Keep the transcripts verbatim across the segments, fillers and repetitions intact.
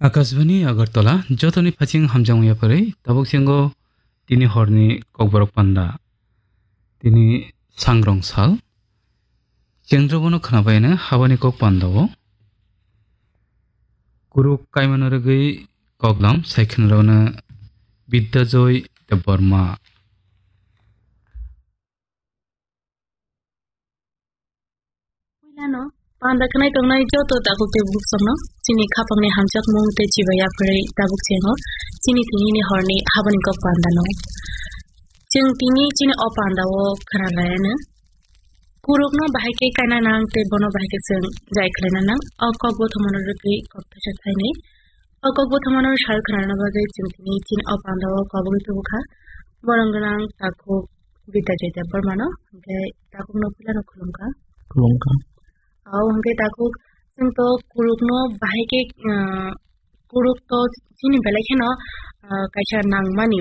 Akashbani Agartala, jotoni phaching hamjak wngya pharwi, tabuk chengo tini horni kokborok panda. Tini sangrong sal. Chengdrobono khnabaino habani kok pandao. Kuruk kaimano rwgwi koklam sai khwnarokno Bidya Joy Debbarma. Puilano panda khnai tongnai joto takhuk tei bukhukno chini khapangni hamjakmung tei chibai yapharwi tabuk chengo chini tinini horni habani kok pandano. Chwng tini chini o pandao khwnalaiano. Kurukno bahai khe kaina nang tei bono bahai khe chwng jai khlaina nang. O kok bothomano rwgwi kok thaisa thainwi. O kok bothomano sal khnana bagwi chwng tini chini o pandao kobogwi tubukha. Borok gwnang takhuk Bidya Joy Debbarmano, hwnkhe takhukno puilano khulumkha. Khulumkha. O hwnkhe takhuk chwng to kurukno bahai khe, ah, kuruk to chini belai kheno, ah, kaisa nangmani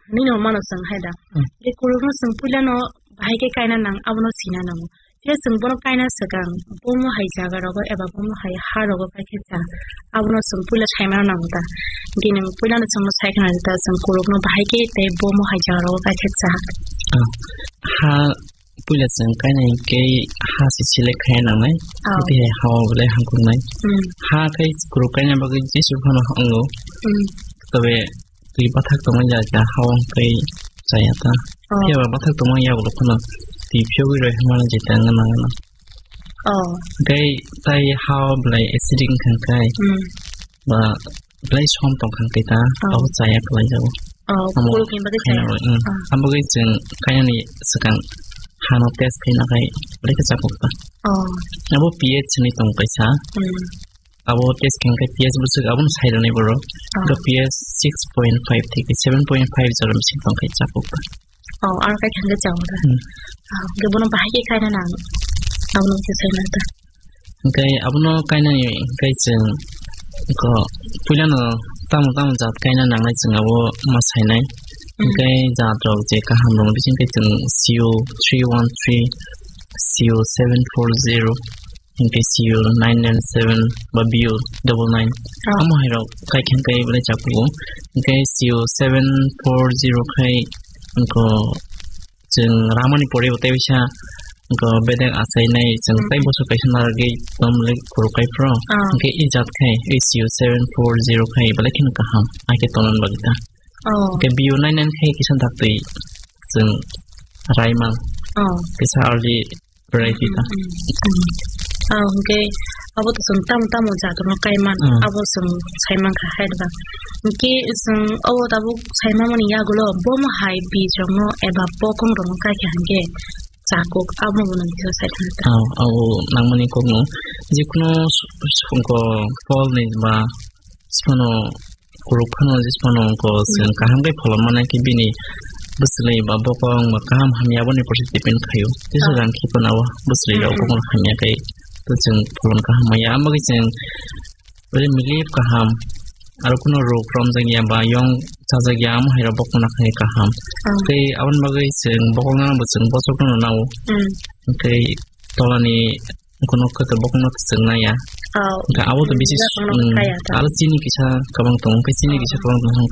hinwi no mano chwng hai da. Hmm. Hwnkhe kurukno chwng puilano bahai khe kaina nang, abono sina nango. Je chwng bono kaina swkang, bomo hai jaga rogo eba bomo hai ha rogo kai khe cha, abono chwng puila saimano nango ta. Hwnkhe nwng puilano chwngno sai khna ta, chwng kurukno bahai khe tei bomo hai jaga rogo kai khe cha. Ah, ha puila chwng kaina hinkhe ha se select khaina nangnai, ah, tei ha o belai hamkuknai. Hmm. Ha khe kuruk kaina bagwi jesu phano wngo. Hmm. Tobe twi bathak tongmani jaga ha o hwnkhe chaya ta. Oh. Phiya ba bathak tongmani yagulo phano twi phiyogwi roi hwnmani jeta wngna nangna. Oh. Tei tai ha o belai acidic wngkha khe. Hmm. Ba belai som tongkha khe ta, oh, abo chaya kwlai jago. Oh, amo kuruk ni bagwi chaya. Khaina roi, hmm. Oh. Amo bagwi chwng kainani swkang hano test khaina khai belai khe chapuk ta. Oh. Abo P H hinwi tong kaisa. Hmm. Abo test khe khe P H bwswk abono sai rwnai borok. Ah. Hwnkhe P H six point five theke seven point five jora bising tong khe chapuk ta. Oh, aro kai khe chao ta. Hmm. Ah, hwnkhe bono bahai khe kaina nang. Abono khe sai nang ta. Hwnkhe abono kainani hwnkhe chwng ko puilano tamo tamo jat kaina nangnai chwng abo ma sainai. Hmm. Hwnkhe jat rok je kaham rok bising khe chwng C O three one three, C O seven four zero. Hingke C U nine nine seven ba B U double nine. Oh. Amo hai rok kai khen kai belai chapugo. Hingke C U seven four zero khai hingko chwng ramani pore bo tei bisa hingko bedek achai nai chwng, mm, tei boso kaisa narwgwi tom le kuru kai phro. Oh. Hingke i jat khai i C U seven four zero khai belai kheno kaham. Ai khe tonan bagwi ta. Oh. Hingke B U nine nine khai kisa daktwi chwng raimang. Oh. Kisa early variety ta. Mm, mm, mm. Ah, hwnkhe abo to chwng tamo tamo jat rokno kaiman, mm, abo chwng saimankha hai ba. Hwnkhe chwng obo tabuk saimamani yagulo bomo hai bij rokno eba bokong rokno kaikha hwnkhe chakuk abo bono kisa saithangkha. Ah, abo nangmani kokno jikunu s-, s-, ko pholni ba sphano kuruk phano jismano wngkha, hmm, chwng kaham khe pholon mannai khe bini bwswlwi ba bokong ba kaham hamya aboni porse depend khaio. Tisa, ah, jang khiphano o bwswlwi rok, hmm, bokong hamya khe to chwng pholon kaham maya. Amo khe chwng bwlai milip kaham, aro kuno rok romjakya ba yong chajakya amo hai rok bokong na khai kaham. Ah. Tei aboni bagwi chwng bokong no bo chwng bosok no nao. Hmm. Tei tolani kuno khe to bokong no chwng naya. Oh. Hwnkhe abo to bisi, hmm, s-, bokong no, hmm, kaya ta. Aro chini kisa kwbang tongo, hwnkhe chini kisa kwbang tongo.